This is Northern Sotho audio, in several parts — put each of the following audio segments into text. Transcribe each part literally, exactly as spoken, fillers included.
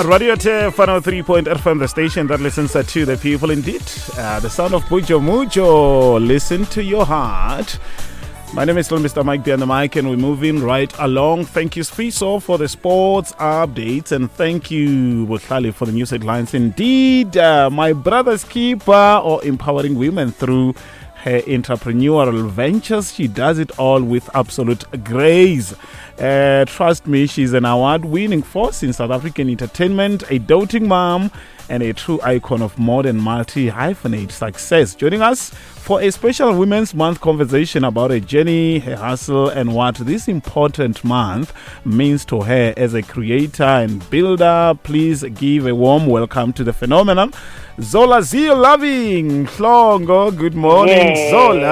Radio Turf one oh three point F M, the station that listens to the people indeed. Uh, the sound of Mujo Mujo, listen to your heart. My name is still Mister Mike B on the mic, and we're moving right along. Thank you, Sfiso, for the sports updates, and thank you, Botlhale, for the news headlines. Indeed, uh, my brother's keeper, or empowering women through her entrepreneurial ventures. She does it all with absolute grace. Uh, trust me, she's an award-winning force in South African entertainment, a doting mom, and a true icon of modern multi-hyphenate success. Joining us for a special Women's Month conversation about her journey, her hustle, and what this important month means to her as a creator and builder. Please give a warm welcome to the phenomenon, Zola Zeal Loving Mhlongo. Good morning, Yay. Zola.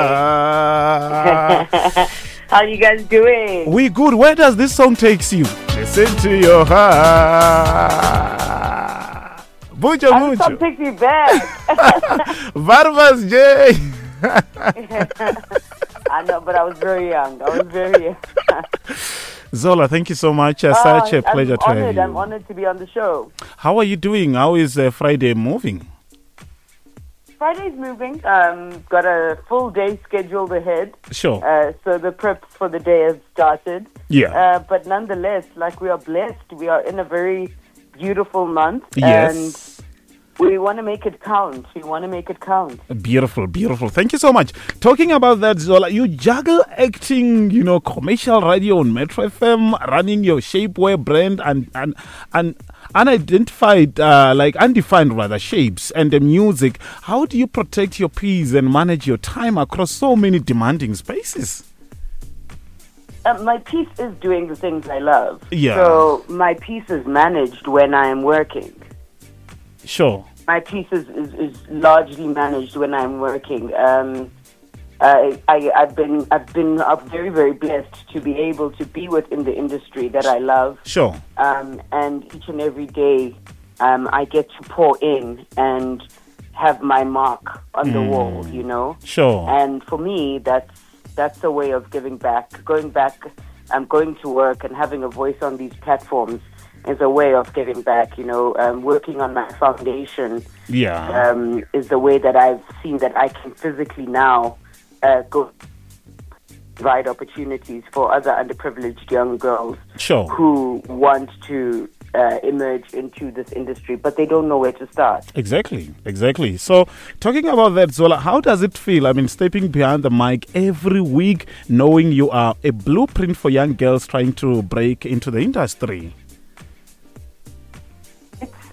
How you guys doing? We good. Where does this song takes you? Listen to your heart. Mucho, How does mucho. Song takes me back. Barbas J. I know, but I was very young. I was very young. Zola, thank you so much. Uh, such oh, a pleasure I'm to honored. have you. I'm honored to be on the show. How are you doing? How is uh, Friday moving? Friday's moving. Um, got a full day scheduled ahead. Sure. Uh, so the preps for the day have started. Yeah. Uh, but nonetheless, like, we are blessed. We are in a very beautiful month. Yes. And we want to make it count. We want to make it count. Beautiful, beautiful. Thank you so much. Talking about that, Zola, you juggle acting, you know, commercial radio on Metro F M, running your shapewear brand and, and, and unidentified, uh, like undefined rather, shapes and the music. How do you protect your peace and manage your time across so many demanding spaces? Uh, my peace is doing the things I love. Yeah. So my peace is managed when I am working. Sure. My peace is, is, is largely managed when I'm working. Um, I, I, I've been I've been uh, very, very blessed to be able to be within the industry that I love. Sure. Um, and each and every day, um, I get to pour in and have my mark on the mm. wall, you know? Sure. And for me, that's, that's a way of giving back. Going back, um, going to work and having a voice on these platforms is a way of giving back, you know. Um, working on my foundation yeah. um, is the way that I've seen that I can physically now uh, go provide opportunities for other underprivileged young girls sure. who want to uh, emerge into this industry, but they don't know where to start. Exactly, exactly. So, talking about that, Zola, how does it feel? I mean, stepping behind the mic every week, knowing you are a blueprint for young girls trying to break into the industry.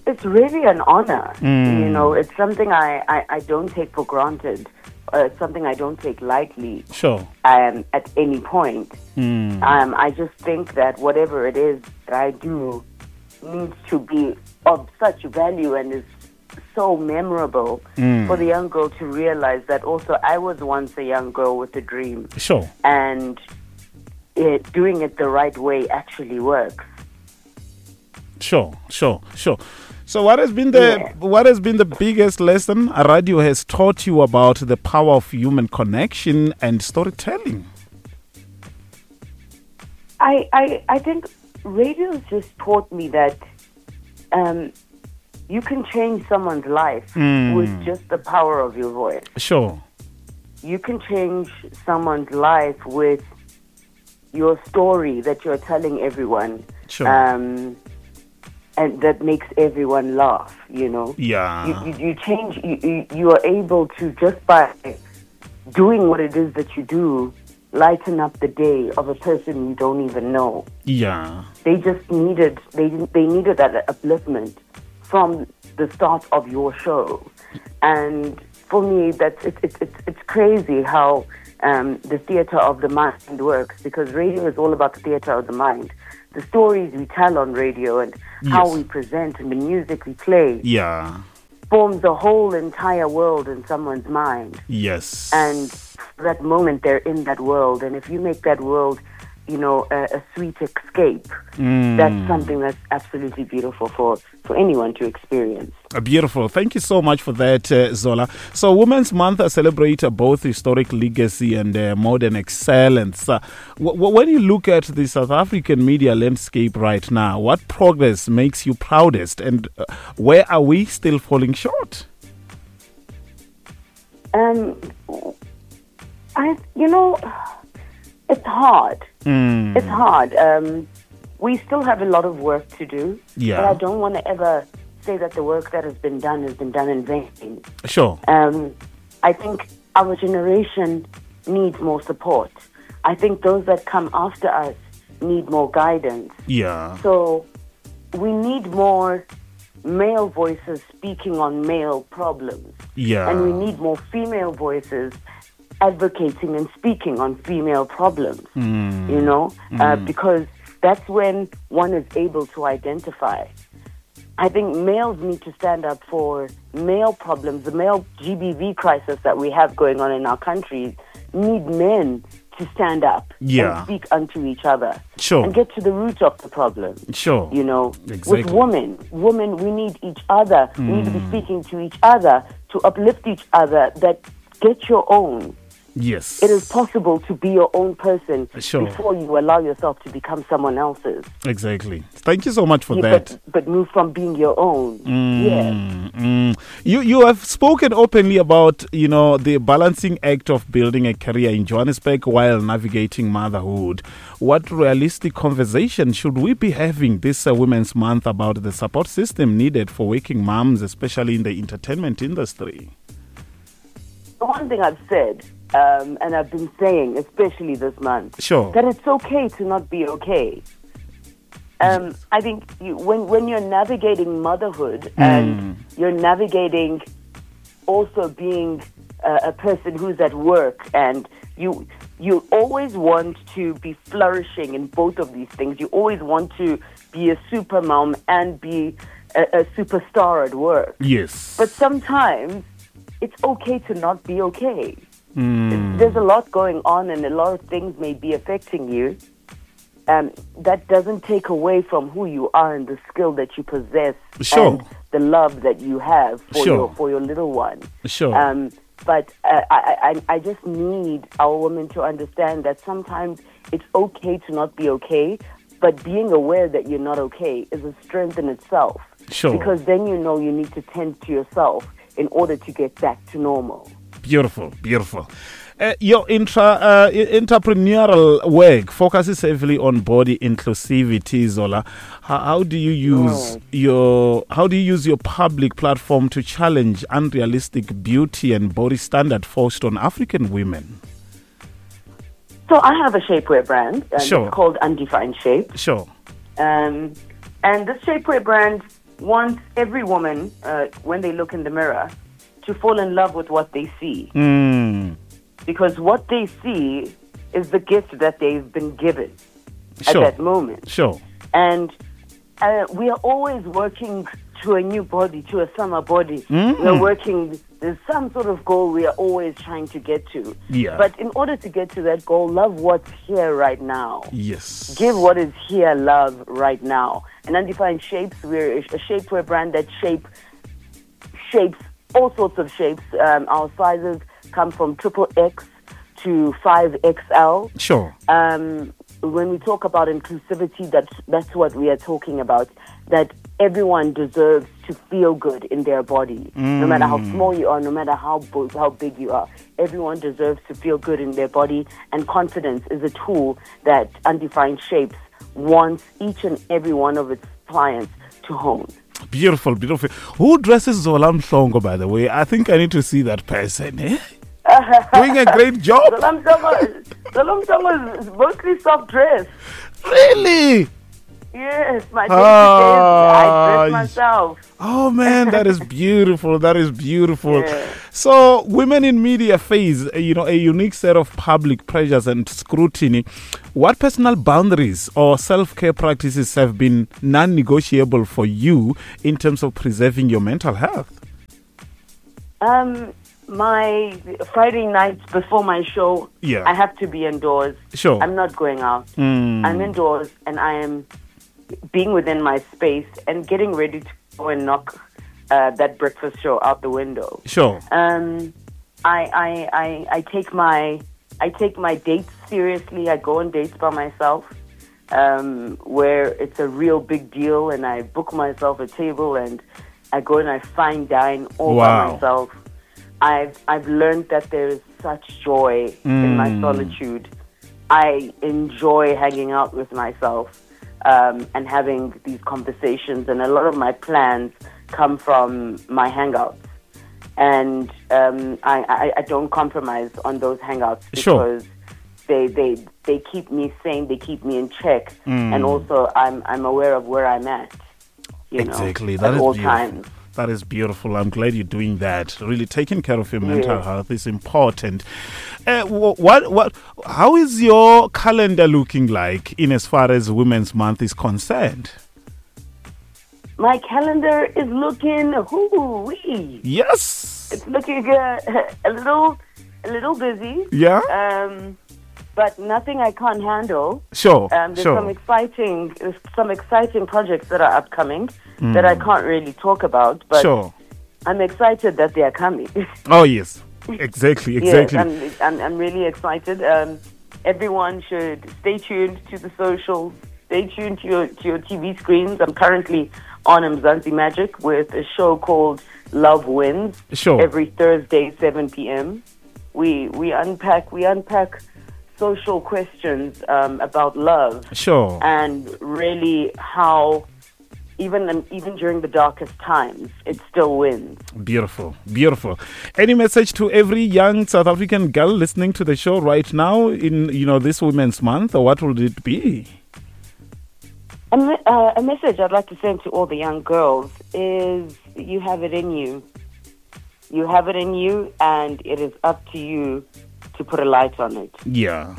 It's really an honor, mm. you know. It's something I, I, I don't take for granted. Uh, it's something I don't take lightly. Sure. Um, at any point. Mm. Um, I just think that whatever it is that I do needs to be of such value and is so memorable mm. for the young girl to realize that also I was once a young girl with a dream. Sure. And it, doing it the right way actually works. Sure, sure, sure. So what has been the yeah. what has been the biggest lesson radio has taught you about the power of human connection and storytelling? I I, I think radio just taught me that um, you can change someone's life mm. with just the power of your voice. Sure. You can change someone's life with your story that you're telling everyone. Sure. Um, and that makes everyone laugh, you know. Yeah. You, you, you change, you, you, you are able to, just by doing what it is that you do, lighten up the day of a person you don't even know. Yeah. They just needed, they, they needed that upliftment from the start of your show. And for me, that's, it, it, it, it's crazy how um, the theater of the mind works, because radio is all about the theater of the mind. The stories we tell on radio and yes. how we present and the music we play yeah. forms a whole entire world in someone's mind. Yes. And that moment they're in that world. And if you make that world you know, a, a sweet escape. Mm. That's something that's absolutely beautiful for, for anyone to experience. Uh, Beautiful. Thank you so much for that, uh, Zola. So, Women's Month uh, celebrates uh, both historic legacy and uh, modern excellence. Uh, w- w- when you look at the South African media landscape right now, what progress makes you proudest, and uh, where are we still falling short? Um, I, you know, it's hard. Mm. It's hard. Um, we still have a lot of work to do. Yeah. But I don't want to ever say that the work that has been done has been done in vain. Sure. Um, I think our generation needs more support. I think those that come after us need more guidance. Yeah. So we need more male voices speaking on male problems. Yeah. And we need more female voices advocating and speaking on female problems, Mm. you know, uh, because that's when one is able to identify. I think males need to stand up for male problems. The male G B V crisis that we have going on in our country need men to stand up Yeah. and speak unto each other. Sure. And get to the root of the problem. Sure. You know, Exactly. with women, women, we need each other. We need to Mm. be speaking to each other, to uplift each other, that get your own. Yes. It is possible to be your own person Sure. before you allow yourself to become someone else's. Exactly. Thank you so much for Yeah, that. But, but move from being your own. Yeah. Mm. You you have spoken openly about, you know, the balancing act of building a career in Johannesburg while navigating motherhood. What realistic conversation should we be having this uh, Women's Month about the support system needed for working moms, especially in the entertainment industry? The one thing I've said, um, and I've been saying, especially this month, Sure. that it's okay to not be okay. Um, I think you, when, when you're navigating motherhood and you're navigating also being a, a person who's at work, and you, you always want to be flourishing in both of these things. You always want to be a super mom and be a, a superstar at work. Yes. But sometimes it's okay to not be okay. There's a lot going on and a lot of things may be affecting you. Um, that doesn't take away from who you are and the skill that you possess Sure. and the love that you have for, Sure. your, for your little one. Sure. Um, but uh, I, I, I just need our women to understand that sometimes it's okay to not be okay, but being aware that you're not okay is a strength in itself. Sure. Because then you know you need to tend to yourself in order to get back to normal. Beautiful, beautiful. Uh, your intra, uh, entrepreneurial work focuses heavily on body inclusivity, Zola. How, how do you use Oh. your how do you use your public platform to challenge unrealistic beauty and body standard forced on African women? So I have a shapewear brand, and Sure. it's called Undefined Shape. Sure. Um, and this shapewear brand wants every woman, uh, when they look in the mirror, to fall in love with what they see. Mm. Because what they see is the gift that they've been given Sure. at that moment. Sure. And uh, we are always working to a new body, to a summer body. Mm. We're working, there's some sort of goal we are always trying to get to. Yeah. But in order to get to that goal, love what's here right now. Yes. Give what is here love right now. And Undefined Shapes, we're a shapewear brand that shape shapes all sorts of shapes. Um, our sizes come from triple X to five X L. Sure. Um, when we talk about inclusivity, that's, that's what we are talking about, that everyone deserves to feel good in their body. No matter how small you are, no matter how, bo- how big you are, everyone deserves to feel good in their body, and confidence is a tool that Undefined Shapes wants each and every one of its clients to hone. Beautiful, beautiful. Who dresses Zola Mhlongo, by the way? I think I need to see that person. Eh? Doing a great job. Zola Mhlongo, Zola Mhlongo is mostly soft dress. Really? Yes, my day-to-day, I Ah, dress myself. Oh man, that is beautiful. That is beautiful. Yeah. So, women in media face, you know, a unique set of public pressures and scrutiny. What personal boundaries or self-care practices have been non-negotiable for you in terms of preserving your mental health? Um, My Friday nights before my show, Yeah. I have to be indoors. Sure. I'm not going out. Mm. I'm indoors and I am being within my space and getting ready to go and knock uh, that breakfast show out the window. Sure. Um, I, I, I, I take my I take my dates seriously. I go on dates by myself, um, where it's a real big deal, and I book myself a table and I go and I fine dine all Wow. by myself. I've I've learned that there is such joy in my Mm. solitude. I enjoy hanging out with myself um, and having these conversations, and a lot of my plans come from my hangouts. And um, I, I, I don't compromise on those hangouts Sure. because they, they they keep me sane, they keep me in check, Mm. and also I'm I'm aware of where I'm at. You Exactly. know, That at is all beautiful. times. That is beautiful. I'm glad you're doing that. Really taking care of your mental Yes. health is important. Uh, wh- what, what, how is your calendar looking like in as far as Women's Month is concerned? My calendar is looking hoo-wee. Yes. It's looking uh, a little a little busy. Yeah. Um, but nothing I can't handle. Sure. Um, there's sure. some exciting there's some exciting projects that are upcoming that I can't really talk about, but Mm. sure. I'm excited that they are coming. Oh, yes. Exactly. Exactly. Yes, I'm, I'm, I'm really excited. Um, everyone should stay tuned to the socials, stay tuned to your, to your T V screens. I'm currently on Mzansi Magic with a show called Love Wins. Sure. Every Thursday, seven p.m. We, we unpack, we unpack social questions um, about love. Sure. And really how even, even during the darkest times, it still wins. Beautiful, beautiful. Any message to every young South African girl listening to the show right now in, you know, this Women's Month, or what would it be? A, me- uh, a message I'd like to send to all the young girls is you have it in you. You have it in you, and it is up to you to put a light on it. Yeah.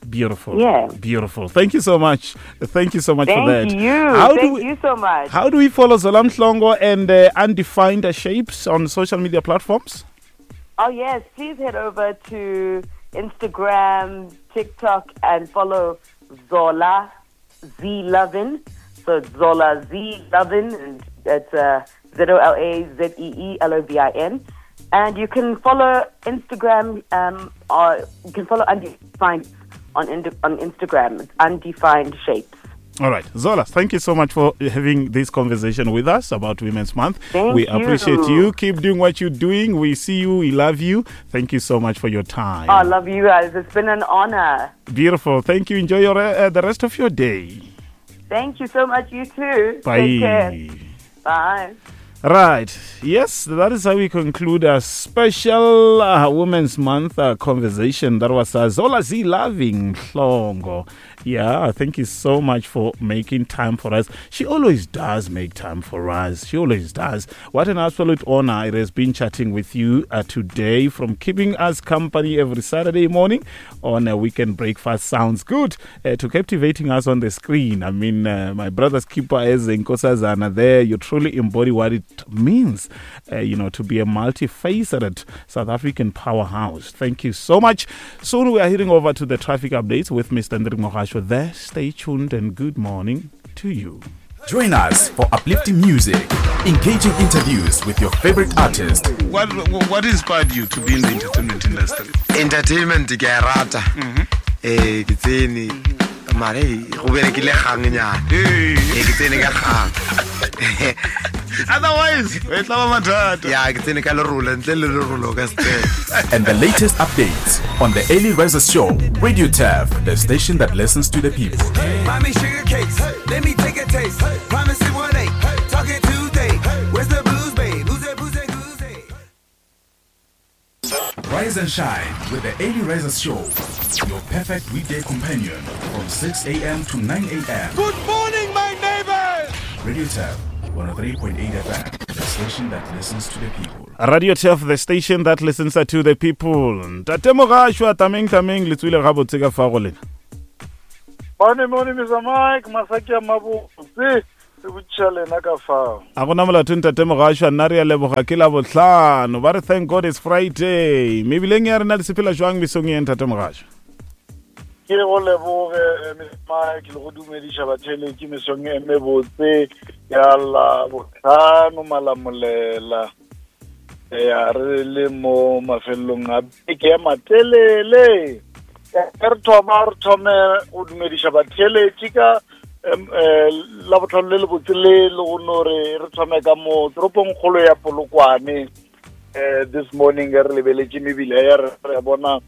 Beautiful. Yeah. Beautiful. Thank you so much. Thank you so much Thank for that. you. How Thank do we, you so much. How do we follow Zola Mhlongo and uh, Undefined Shapes on social media platforms? Oh, yes. Please head over to Instagram, TikTok, and follow Zola Z Lovin. So it's Zola Z Lovin, and that's uh, Z O L A Z E E L O V I N. And you can follow Instagram, um, or you can follow Undefined on, on Instagram. It's Undefined Shapes. All right. Zola, thank you so much for having this conversation with us about Women's Month. Thank we you. appreciate you. Keep doing what you're doing. We see you. We love you. Thank you so much for your time. Oh, I love you guys. It's been an honor. Beautiful. Thank you. Enjoy your uh, the rest of your day. Thank you so much. You too. Bye. Take care. Bye. Right. Yes, that is how we conclude our special uh, Women's Month uh, conversation. That was uh, Zola Zee Loving Mhlongo. Yeah, thank you so much for making time for us. She always does make time for us. She always does. What an absolute honor it has been chatting with you uh, today, from keeping us company every Saturday morning on a Weekend Breakfast Sounds Good uh, to captivating us on the screen. I mean, uh, my brother's keeper is Nkosazana there. You truly embody what it means, uh, you know, to be a multifaceted South African powerhouse. Thank you so much. Soon we are heading over to the traffic updates with Mister Ndri Mogasho there. Stay tuned and good morning to you. Join us for uplifting music, engaging interviews with your favorite artist. What what inspired you to be in the entertainment industry? Entertainment ke a rata. Eh ke tsene mare go berekile gang nyana. Eh ke tsene ka gang. Otherwise, we tla ba mathata. Yeah, ke tsene ka lerolo ntle le lerolo ka step. And the latest updates on the Early Risers Show, Radio Turf, the station that listens to the people. Buy me sugar cakes, let me take a taste. Promise it one eight, talking Tuesday. Where's the booze, babe? Booze, booze, booze. Rise and shine with the Early Risers Show, your perfect weekday companion from six a.m. to nine a.m. Good morning, my neighbors. Radio Turf, one oh three point eight F M, the station that listens to the people. Radio Turf, the station that listens to the people. Ntate Mogasho, tameng tameng le tswile ga botse ka fa go lena. Morning, morning, Mister Mike, Masaki Mabuse. Re botšiša lena ka fao. A gona molato ntate Mogašwa, nna re a leboga ke la bohlano. Ba re thank God it's Friday. Mebileng ya rena le sepela jwang mesong ye ntate Mogašwa? Ke go leboge Mister Mike le go dumediša batheeletši mesong e mebotse ya la bohlano Malamolela. Ya re le mo mafelelong a beke ya matelele. Re thoma re thome go dumediša batheeletši ka la bohlano le lebotse le le go no re re thome ka mo toropong kgolo ya Polokwane. Eh this morning re lebeletše mebila ya re re bona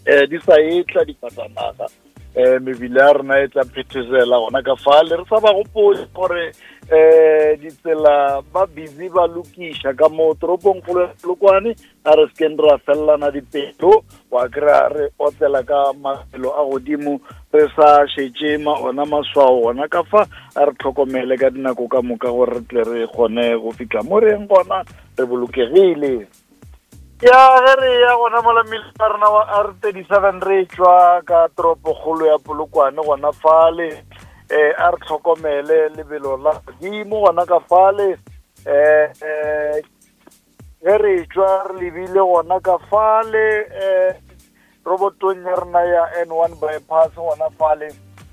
eh di sa etla difatanaga. Eh mebila ya rena e tla phethesela gona ka fale. Re sa ba gopole gore eh ditsela ba busy ba lokiša ka mo toropong kgolo ya Polokwane. A re sekeng ra fellana dipelo wa kry-a re otlela ka mafelo a godimo re sa šetše ma ona maswao gona ka fa. A re tlhokomele ka dinako ka moka gore re tle re kgone go fihla mo re yeng gona re bolokegile. Ya ge re ya gona mola mmileng wa rena wa R thirty-seven re tšwa ka toropokgolo ya Polokwane gona fale. Eh a re tlhokomele lebelo la godimo gona ka fale. Eh eh ge re tšwa re lebile gona ka fale eh robotong ya rena ya N one bypass gona fale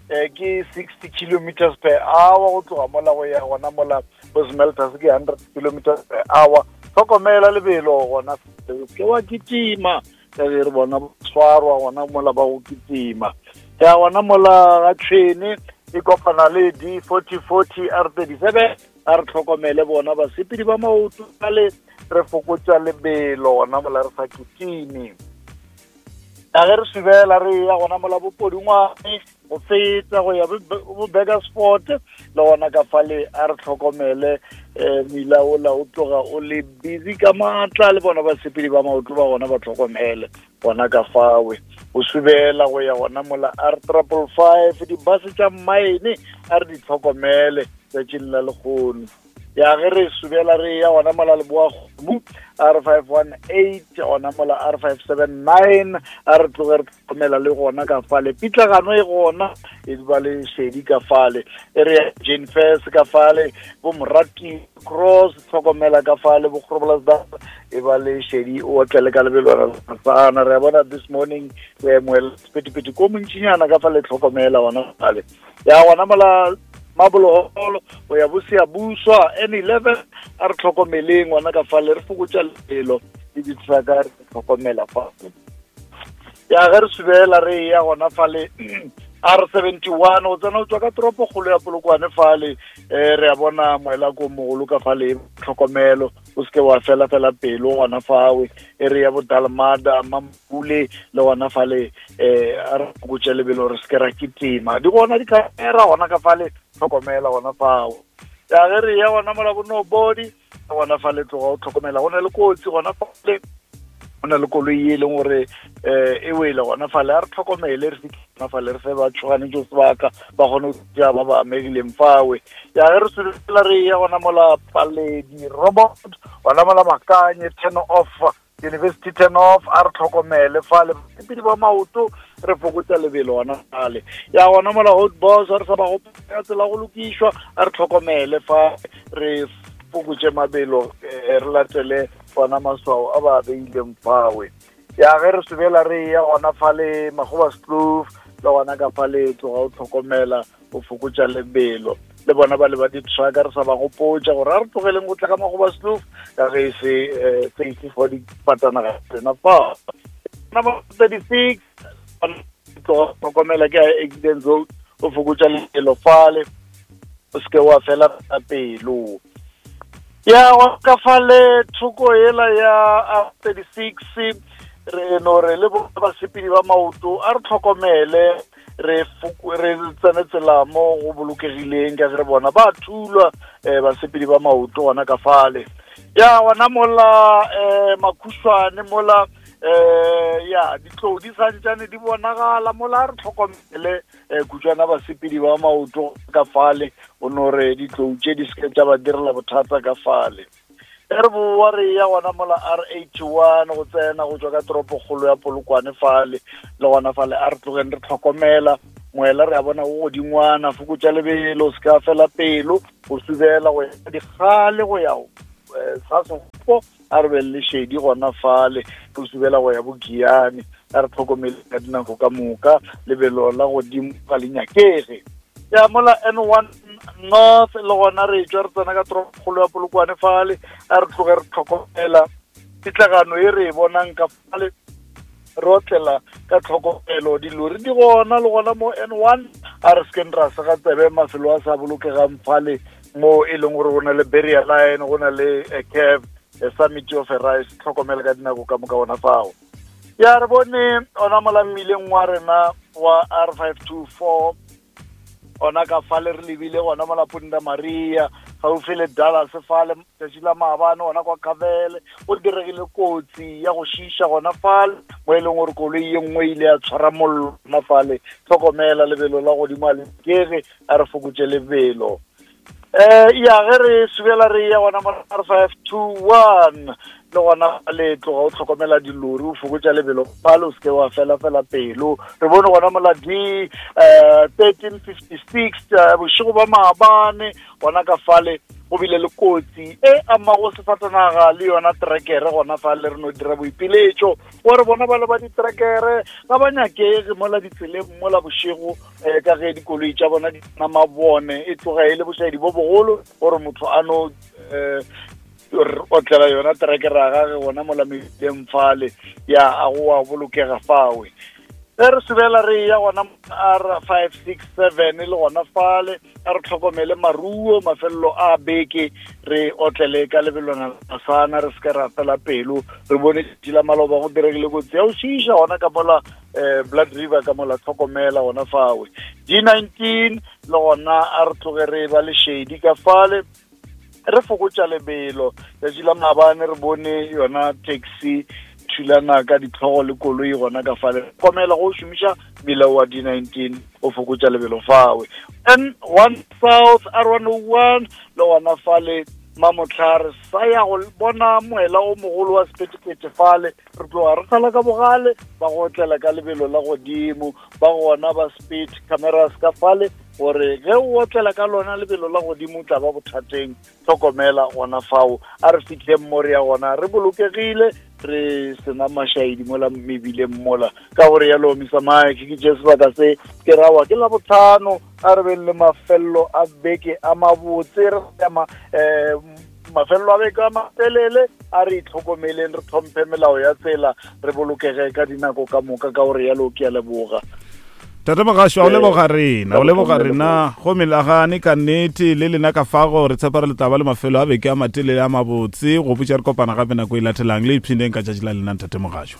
eh ke sixty kilometers per hour go tloga mola go ya gona mola bo smelters ke hundred kilometers per hour. Tlhokomela lebelo gona ke wa kitima ka ge re bona tshwarwa gona mola ba go kitima. Ya gona mola ga tšhwene e kopana le D forty forty R thirty-seven. A re tlhokomele bona basepedi ba maoto le re fokotša lebelo gona mola re sa kitime. A ge re subela re ya gona mola bopodingwane go feta go ya bo Burgersport le gona ka fale. A re tlhokomele eh mila ola o tloga o le busy ka maatla le bona basepedi ba maoto ba gona ba tlhokomele gona ka fawe. O subela go ya gona mola R triple five di-bus tša mine a re di tlhokomele tšatšing la lekgono. Ya ge re subela re ya gona mola Leboa Kgomo R five one eight gona mola R five seven nine a re tloge re tlhokomela le gona ka fale. Pitlagano e gona e ba le šedi ka fale. E re ya Jane Fairs ka fale bo Morati Cross tlhokomela ka fale bo Groblersdal e ba le šedi o otlele ka lebelwana la. Re a bona this morning moela sephethephethe ko montšinyana ka fale tlhokomela gona fale. Ya gona mola Maboloholo go ya Bosiyabuswa N eleven a re tlhokomeleng gona ka fale re fokotša lebelo le di-trucka re tlhokomela fa. Ya ge re subela re ya gona fale R seventy-one go tsena o tswa ka toropokgolo ya Polokwane fale. Eh re a bona moela ko mogolo ka fale tlhokomelo o seke wa fela fela pelo gona fawe. E re ya bo Dalmada Mampule le gona fale eh a re fokotše lebelo re seke ra kitima. Di gona di-camera gona ka fale tlhokomela gona fao. Ya ge re ya gona mola bo Nobody gona fale tloga o tlhokomela go na le kotsi gona fale. Go na le koloi e leng gore eh e wele gona fale. A re tlhokomele re fitlhe gona fale re fe ba tšhoganetšo sebaka ba kgone go tšea ba ba amegileng fawe. Ya ge re subela re ya gona mola Paledi Robot gona mola Makanye turn off University turn off a re tlhokomele fale basepedi ba maoto re fokotša lebelo gona fale. Ya gona mola Hot Boss re sa ba gopola tsela go lokišwa a re tlhokomele fa re fokotše mabelo re latele gona maswao a ba beileng fawe. Ya ge re subela re ya gona fale Magoba's Kloof le gona ka fale tloga o tlhokomela o fokotša lebelo le bona ba le ba di-trucka re sa ba gopotša gore a re tlogeleng go tla ka Magoba's Kloof ka ge e se safe for difatanaga tsena fa. Number thirty-six tloga tlhokomela ke accident road o fokotša lebelo fale o seke wa fela pelo. Ya ka fale thoko ela ya R thirty-six re no re le basepedi ba maoto a re tlhokomele re re tsene tsela mo go bolokegileng ka ge re bona ba thulwa eh basepedi ba maoto gona ka fale. Ya gona mola eh Makhušwane mola eh ya ditlou di santšane di bonagala mola re tlhokomele eh kutswana basepedi ba maoto ka fale o no re ditlou tše di seke tša ba direla bothata ka fale. E re boa re ya gona mola R eighty-one go tsena go tswa ka toropokgolo ya Polokwane fale le gona fale a re tlogeng re tlhokomela Moela re a bona go godingwana, fokotša lebelo, se ka fela pelo, o subela go ya dikgale go ya sa segopo, a re be le šedi gona fale, o subela go ya bokiane, a re tlhokomele ka dinako ka moka, lebelo la godimo ga le nyakege. Ya mola N one North le gona re tšwa re tsena ka toropokgolo ya Polokwane fale, a re tloge re tlhokomela pitlagano e re e bonang ka fale, re otlela ka tlhokomelo, dilori di gona le gona mo N one, a re sekeng ra sega tsebe mafelo a sa bolokegang fale mo e leng gore go na le barrier line, go na le a curve, a summit of a rise, tlhokomela ka dinako ka moka gona fao. Ya re bone ona mola mmileng wa rena wa R five two four, ona ka fale re lebile gona mola Punda Maria gaufi le Dallas fale, tšatši la maabane gona kwa Kavele go diregile kotsi ya go šiša gona fale, mo e leng gore koloi ye nngwe ile ya tshwara mollo gona fale. Tlhokomela lebelo la godimo a le kege, a re fokotše lebelo. Eh ya ge re subela re ya gona mo R five two one le gona le tloga o tlhokomela dilori, o fokotša lebelo fale, o seke wa fela fela pelo. Re bone gona mola D eh thirteen fifty six bošego ba maabane gona ka fale go bile le kotsi e amago sefatanaga le yona trekere gona fale, re no dira boipiletšo gore bona ba le ba ditrekere ga ba nyakege mola ditseleng mola bošego, um ka ge dikoloi tša bona di na mabone, e tloga e le bošaedi bo bogolo gore motho a no um otlela yona trekere ya gage gona mola mebileng fale, ya a go a bolokega fawe. Ge re subela re ya gona R five six seven le gona fale, a re tlhokomele maruo mafelelo a beke, re otlele ka lebelwana la sana, re se ra fela pelo. Re bone tšatši la maloba go diregile kotsi ya go šiša gona ka mola eh Blood River ka mola, tlhokomela gona fawe. D nineteen le gona a re tloge re ba le shedi ka fale, re fokotša lebelo. Tšatši la maabane re bone yona taxi thulana ka ditlhogo le koloi gona ka fale, tlhokomela go šomiša mmila wa D nineteen o fokotša lebelo fawe. N one South R one oh one le gona fale Mamotlhare sa ya go bona moela o mogolo wa sephethephethe fale, re tloga re sala ka bogale, ba go otlela ka lebelo la godimo, ba gona ba speed cameras ka fale gore ge o otlela ka lona lebelo la godimo o tla ba bothateng. Tlhokomela gona fao, a re fihleng mo re ya gona re bolokegile, re sena mašaedi mola mebileng mola. Ka gore yalo Mister Mike ke tše sebaka se ke rawa ke la botlhano, a re beng le mafelelo a beke a mabotse, re ma eh mafelelo a beke a matelele, a re itlhokomeleng, re tlhomphe melao ya tsela, re bolokege ka dinako ka moka. Ka gore yalo ke a leboga. Tate Mogasho, o leboga rena, o leboga rena go melagane ka nnete le lena ka fago, re tshepa re le taba le mafelo a beke a matelele a mabotse. Go botša re kopana gape nako e latelang, le ipshineng ka tšatši la lena Ntate Mogasho.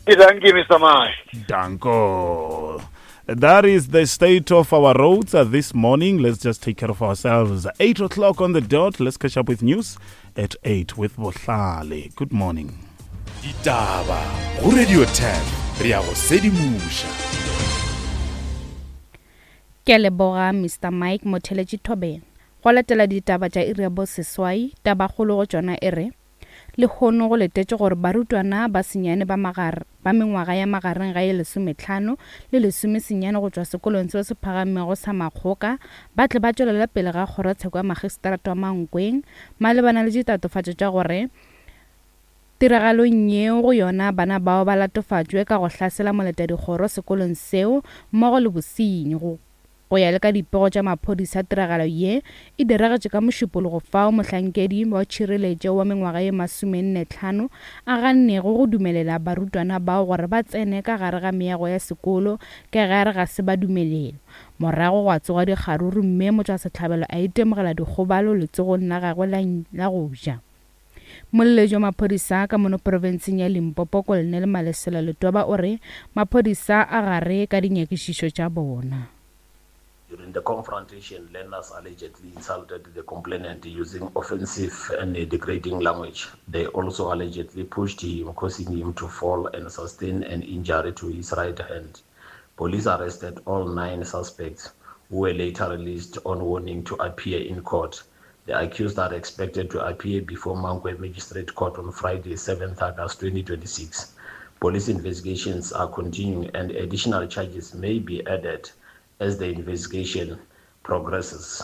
Thank you, Mister Mike. Danko. That is the state of our roads this morning. Let's just take care of ourselves. Eight o'clock on the dot. Let's catch up with news at eight with Bohlale. Good morning. Ditaba go Radio ten re ya go sedimoša. Ke a leboga Mister Mike Motheletši Thobela. Go latela ditaba tša iri ya boseswai, tabakgolo go tšona e re lehono go letetše gore barutwana ba senyane ba magare ba mengwaga ya magareng ga ye lesometlhano le lesomesenyane go tšwa sekolong seo se phagamego sa Makgoka ba tle ba tšwelela pele ga kgorotsheko ya magistrata wa Mankweng malebana le ditatofatšo tša gore tiragalong yeo go yona bana bao ba latofatšwe ka go hlasela moletadikgoro sekolong seo mmogo le bosenyi. Go go ya le ka dipego tša maphodisa, tiragalo ye e diragetše ka mošupologo fao mohlankedi wa tšhireletšo wa mengwaga ye masomenne tlhano a gannego go dumelela barutwana bao gore ba tsene ka gare ga meago ya sekolo ka ge a re ga se ba dumelelwa. Morago gwa tsoga dikgaruru mme motšwasehlabelo a itemogela dikgobalo letsogong la gagwe la go ja. Molletši wa maphodisa ka mono profenseng ya Limpopo Colonel Malesela Letoba o re maphodisa a gare ka dinyakišišo tša bona. During the confrontation, learners allegedly insulted the complainant using offensive and degrading language. They also allegedly pushed him, causing him to fall and sustain an injury to his right hand. Police arrested all nine suspects, who were later released on warning to appear in court. The accused are expected to appear before Mankweng Magistrate Court on Friday, seventh August twenty twenty-six. Police investigations are continuing and additional charges may be added as the investigation progresses.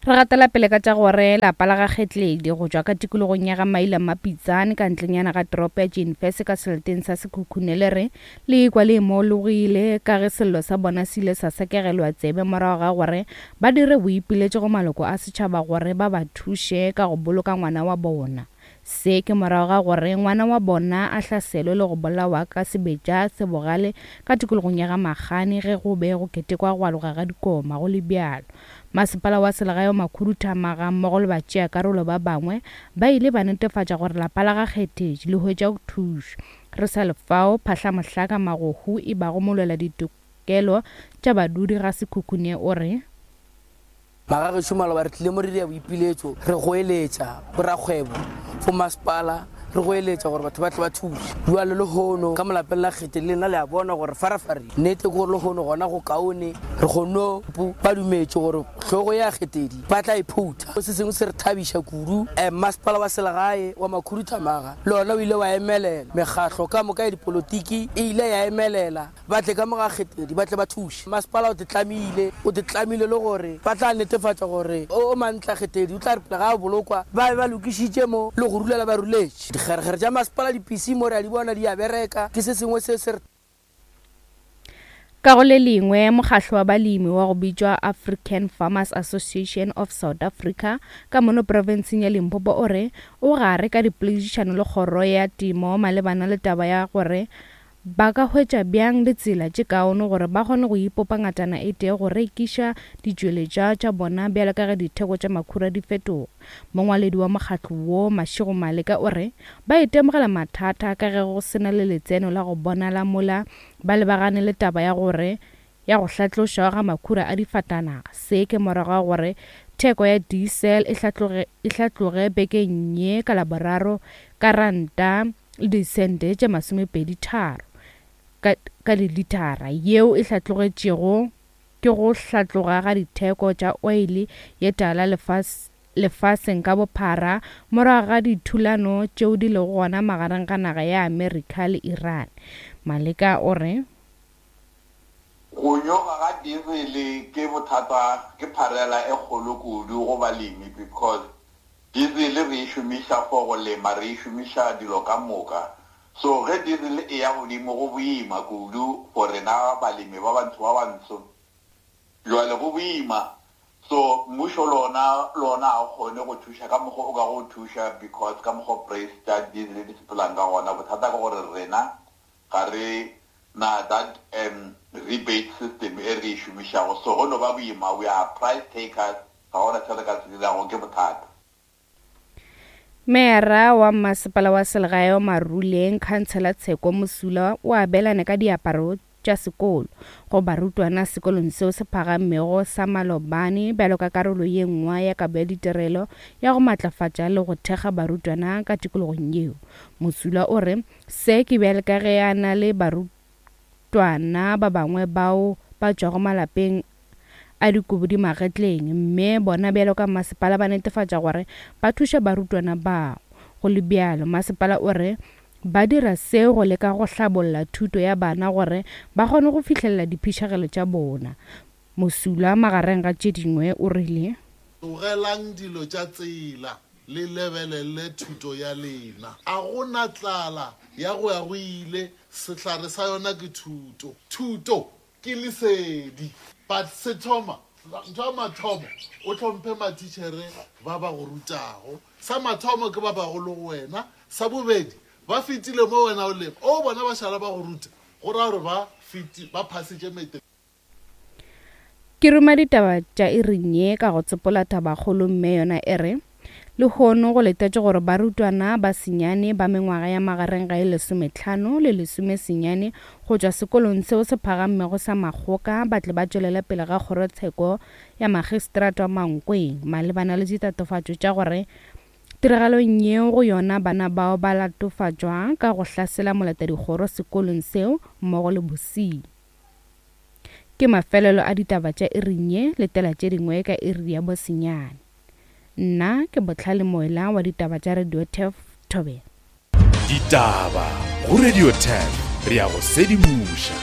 Re gatela pele ka tša gore lapa la ga Kgetledi go tšwa ka tikologong ya ga Maila Mapitsane ka ntlenyana ga toropo ya Jenfese ka seleteng sa Sekhukhune le re le ikwa le imologile ka ge sello sa bona se ile sa sekegelwa tsebe morago ga gore ba dire boipiletšo go maloko a setšhaba gore ba ba thuše ka go boloka ngwana wa bona. Se ke morago ga gore ngwana wa bona a hlaselwe le go bolawa ka sebetša se bogale ka tikologong ya ga Magane ge go be go ketekwa go aloga ga dikoma go le bjalo. Masepala wa selegae wa Makhuduthamaga mmogo le batšeakarolo ba bangwe ba ile ba netefatša gore lapa la ga Kgetheji le hwetša thušo. Re sa le fao Phahlamohlaka Magohu e bago molwela ditokelo tša badudi ga Sekhukhune o re Magagešo maloba re tlile mo re dira boipiletšo re goeletša borakgwebo go masepala re goeletša gore batho ba tle ba thuše. Jwale lehono ka molapeng la Kgete le lena le a bona gore farafare nnete ke gore lehono gona go kaone re kgonno ba dumetše gore hlogo ya Kgetedi ba tla e phutha. Se sengwe se re thabiša kudu masepala wa selegae wa Makhuduthamaga le ona o ile wa emelela, mekgahlo ka moka ya dipolotiki e ile ya emelela ba tle ka mo ga Kgetedi ba tle ba thuše. Masepala o te tlamile o te tlamile le gore ba tla netefatša gore o mantla Kgetedi o tla re pele ga a bolokwa ba be ba lokišitše mo le go rulela ba ruletše. Dikgerekgere tša masepala di-P C mo re a di bona di a bereka ke se sengwe se se re. Ka go le lengwe mokgahlo wa balemi wa go bitšwa African Farmers Association of South Africa ka mono profenseng ya Limpopo o re o gare ka dipoledišano le kgoro ya temo malebana le taba ya gore ba ka hwetša bjang ditsela tše kaone gore ba kgone go ipopa ngatana e tee go rekiša ditšweletšwa tša bona bjalo ka ge ditheko tša makhura di fetoga. Mongwaledi wa mokgatlo wo Mashego Maleka o re ba itemogela mathata ka ge go sena le letseno la go bonala mola ba lebagane le taba ya gore ya go hlatlošwa ga makhura a difatanaga. Se ke morago ga gore theko ya diesel e hlatloge e hlatloge bekeng ye ka Laboraro ka ranta le disente tše masomepedi tharo ka, ka dilitara yeo e hlatlogetšego ke go hlatloga ga ditheko tša oile ye tala lefase lefaseng ka bophara morago ga dithulano tšeo di lego gona magareng ga naga ya Amerika le Iran. Maleka o re go nyoga ga diesel ke bothata ke pharela e kgolo kudu go balemi because diesel re e šomiša for go lema re e šomiša dilo ka moka. So ge diesel e ya godimo go boima kudu for rena balemi ba bantsho ba bantsho jwale go boima. So mmušo lona lona a kgone go thuša ka mokgwa o ka go thuša because ka mokgwa price tša diesel di sepelang ka gona. Bothata ke gore rena ga re na that um rebate system e re e šomišago, so go no ba boima. We are price takers, ga gona se re ka se dirago, ke bothata. Meera wa masepala wa selegae wa Maruleng Councillor Tsheko Mosula o abelane ka diaparo tša sekolo go barutwana sekolong seo se phagamego sa Malobane bjalo ka karolo ye nngwe ya kabo ya ditirelo ya go matlafatša le go thekga barutwana ka tikologong yeo. Mosula o re se ke bjale ka ge a na le barutwana ba bangwe bao ba tšwago malapeng a dikobo di magetleng mme bona bjalo ka masepala ba netefatša gore ba thuša barutwana bao. Go le bjalo masepala o re ba dira seo go leka go hlabolla thuto ya bana gore ba kgone go fihlelela diphišegelo tša bona. Mosula magareng ga tše dingwe o rile tlogelang dilo tša tsela le lebelele thuto ya lena. A gona tlala ya go ya go ile, sehlare sa yona ke thuto. Thuto ke lesedi. But se thoma ntho ya mathomo o hlomphe matitšhere ba ba go rutago. Sa mathomo ke ba bagolo go wena, sa bobedi ba fetile mo wena o leng o bona ba šala ba go ruta go ra gore ba feti ba phasitše matric. Ke ruma ditaba tša iring ye ka go tsepola tabakgolo mme yona e re lehono go letetše gore barutwana ba senyane ba mengwaga ya magareng ga e lesometlhano le lesomesenyane go tšwa sekolong seo se phagammego sa Makgoka ba tle ba tšwelele pele ga kgorotsheko ya magistrata wa Mankweng malebana le ditatofatšo tša gore tiragalong yeo go yona bana bao ba latofatšwa ka go hlasela molatadikgoro sekolong seo mmogo le bosenyi. Ke mafelelo a ditaba tša iring ye, letela tše dingwe ka iri ya bosenyane. Nna ke Botlhale Moela wa ditaba tša Radio Turf Thobela. Ditaba go Radio ten re ya go sedimoša.